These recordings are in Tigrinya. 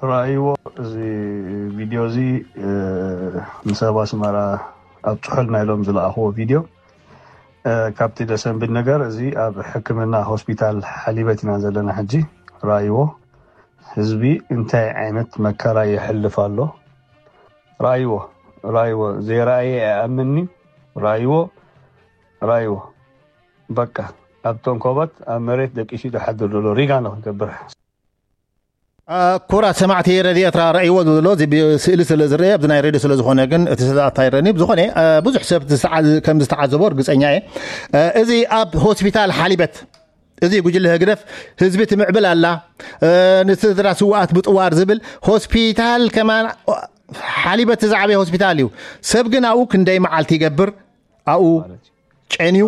ረኣይዎ እዚ ቪድዮ እዚ። ንሰብ ኣስመራ ኣብፅሑልና ኢሎም ዝለኣኽዎ ቪድዮ። ካብቲ ደሰንብል ነገር እዚ ኣብ ሕክምና ሆስፒታል ሓሊበት ኢና ዘለና ሕጂ። ረኣይዎ፣ ህዝቢ እንታይ ዓይነት መከራ የሕልፍ ኣሎ። ረኣይዎ፣ ረኣይዎ፣ ዘይረኣየ ኣይኣምንኒ። ረኣይዎ፣ ረኣይዎ። በቃ ኣብ ተንኮበት ኣብ መሬት ደቂሱ ዝሓድር ዘሎ ሪጋ ንክገብር። ኩራት ሰማዕቲ ረድዮ ኤርትራ ረእይዎ ዘሎ እዚ ስእሊ ስለ ዝረአ ኣብዚ ናይ ሬድዮ ስለ ዝኾነ ግን እቲ ሰዓት ኣይረኒ። ብዝኾነ ብዙሕ ሰብ ከም ዝተዓዘቦ እርግፀኛ እየ። እዚ ኣብ ሆስፒታል ሓሊበት እዚ ጉጅለ ህግደፍ ህዝቢ ትምዕብል ኣላ፣ ንስድራ ስውኣት ብጥዋር ዝብል ሆስፒታል ከማን ሓሊበት ዝዓበየ ሆስፒታል እዩ። ሰብ ግን ኣብኡ ክንደይ መዓልቲ ይገብር ኣብኡ ጨንዩ።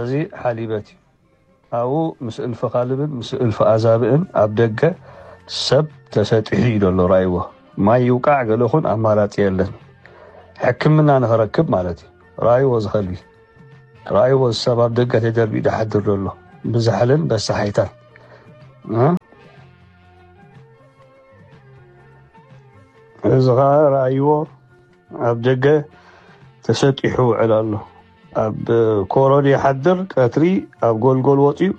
እዚ ሓሊበት እዩ። ኣብኡ ምስ እልፊ ካልብን ምስ እልፊ ኣዛብእን ኣብ ደገ ሰብ ተሰጢሑ እዩ ዘሎ። ራይዎ ማይ ይውቃዕ ገለኹን ኣማራፂ የለን። ሕክምና ንኽረክብ ማለት እዩ። ራይዎ ዝኸልቢ ራይዎ ሰብ ኣብ ደገ ተደርቢኡ ድሓድር ዘሎ ብዛሕልን በሳሓይታን። እዚ ኸዓ ራይዎ ኣብ ደገ ተሰጢሑ ውዕል ኣሎ። ኣብ ኮሮን ይሓድር፣ ቀትሪ ኣብ ጎልጎል ወፂኡ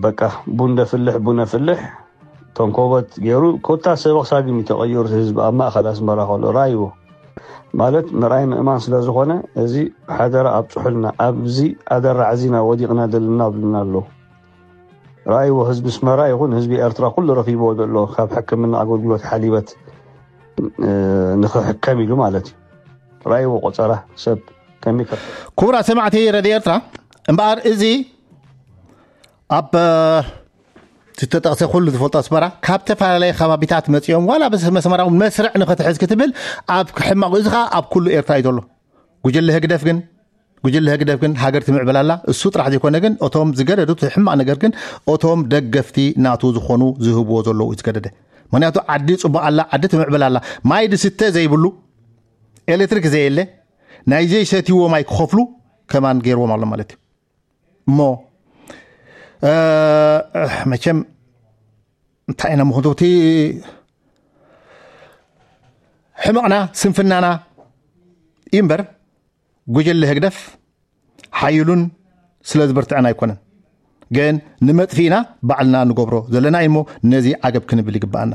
በቃ ቡን ደፍልሕ ቡን ኣፍልሕ ተንኮበት ገይሩ ኮታ ሰበኽ ሳግም እዩ ተቐይሩ። ህዝቢ ኣብ ማእኸል ኣስመራ ከሎ ራይዎ ማለት ምርኣይ ምእማን ስለ ዝኾነ እዚ ሓደራ ኣብፅሑልና። ኣብዚ ኣደራዕ እዚና ወዲቕና ዘለና ብልና ኣለዉ። ራእይዎ ህዝቢ ኣስመራ ይኹን ህዝቢ ኤርትራ ኩሉ ረኺብዎ ዘሎ ካብ ሕክምና ኣገልግሎት ሓሊበት ንኽሕከም ኢሉ ማለት እዩ። ራእይዎ ቆፀራ ሰብ ከሚከ ክቡራት ሰማዕቲ ረድዮ ኤርትራ እምበኣር እዚ ኣብ ዝተጠቕሰ ኩሉ ዝፈልጦ ኣስመራ ካብ ዝተፈላለየ ከባቢታት መፂኦም ዋላ መስመራዊ መስርዕ ንኽትሕዝ ክትብል ኣብ ሕማቕ እዚ ከዓ ኣብ ኩሉ ኤርትራ እዩ ዘሎ። ጉጅለ ህግደፍ ግን ጉጅለ ህግደፍ ግን ሃገር ትምዕብል ኣላ። እሱ ጥራሕ ዘይኮነ ግን እቶም ዝገደዱ እቲ ሕማቕ ነገር ግን እቶም ደገፍቲ ናቱ ዝኾኑ ዝህብዎ ዘለዉ እዩ ዝገደደ። ምክንያቱ ዓዲ ፅቡቕ ኣላ፣ ዓዲ ትምዕብል ኣላ። ማይ ዝስተ ዘይብሉ ኤሌክትሪክ ዘየለ ናይ ዘይሰትይዎ ማይ ክኸፍሉ ከማን ገይርዎም ኣሎ ማለት እዩ። እሞ መቸም እንታይ ኢና ምኽንቱ እቲ ሕመቕና ስንፍናና እዩ እምበር ጉጅለ ህግደፍ ሓይሉን ስለ ዝበርትዐና ኣይኮነን። ግን ንመጥፊእና ባዕልና ንገብሮ ዘለና እዩ እሞ ነዚ ዓገብ ክንብል ይግባኣና።